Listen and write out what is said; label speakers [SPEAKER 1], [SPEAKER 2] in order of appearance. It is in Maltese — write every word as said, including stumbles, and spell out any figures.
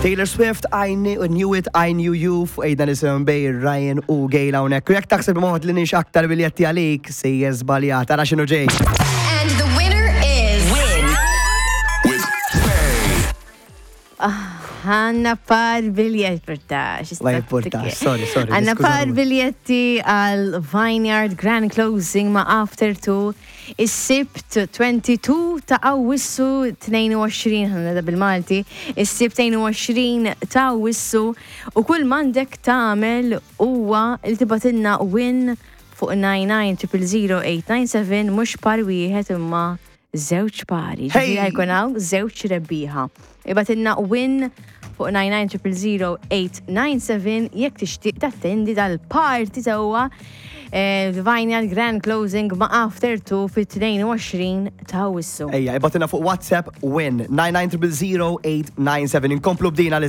[SPEAKER 1] Taylor Swift, I knew, knew it, I knew you, fuq ejda nisim bej Ryan u Gail hawnhekk. U jekk taħseb moħod li nix aktar biljetti għalik, sejjer żbaljat, ara x'inhu ġej.
[SPEAKER 2] And the winner is.
[SPEAKER 3] Win with
[SPEAKER 4] Għandna par biljetti, portax.
[SPEAKER 1] Ma jipportax, sorry, sorry,
[SPEAKER 4] Għandna
[SPEAKER 1] niskuża
[SPEAKER 4] par
[SPEAKER 1] ruħi.
[SPEAKER 4] biljetti għal Vineyard Grand Closing ma' After Two is-Sibt tlieta u għoxrin ta' Awwissu tnejn u għoxrin, ħanna bil-Malti, is-Sibt tnejn u għoxrin ta' Awwissu, u kull m'għandek tagħmel huwa li tibgħatilna win fuq tnejn tnejn triple zero tmien disa seba', mhux par wieħed imma żewġ pari.
[SPEAKER 1] Hey!
[SPEAKER 4] Ġifieri jkun hawn żewġ rebbieħa. Ibgħatilna win fuq tnejn tnejn triple zero tmien disa seba' jekk tixtieq tattendi dal-party sewwa eh, Vineyard Grand Closing ma' After Two fit-tnejn u għoxrin ta' Awwissu.
[SPEAKER 1] Ejja, ibgħatilna fuq WhatsApp win nine nine zero zero eight nine seven. Inkomplu bdina.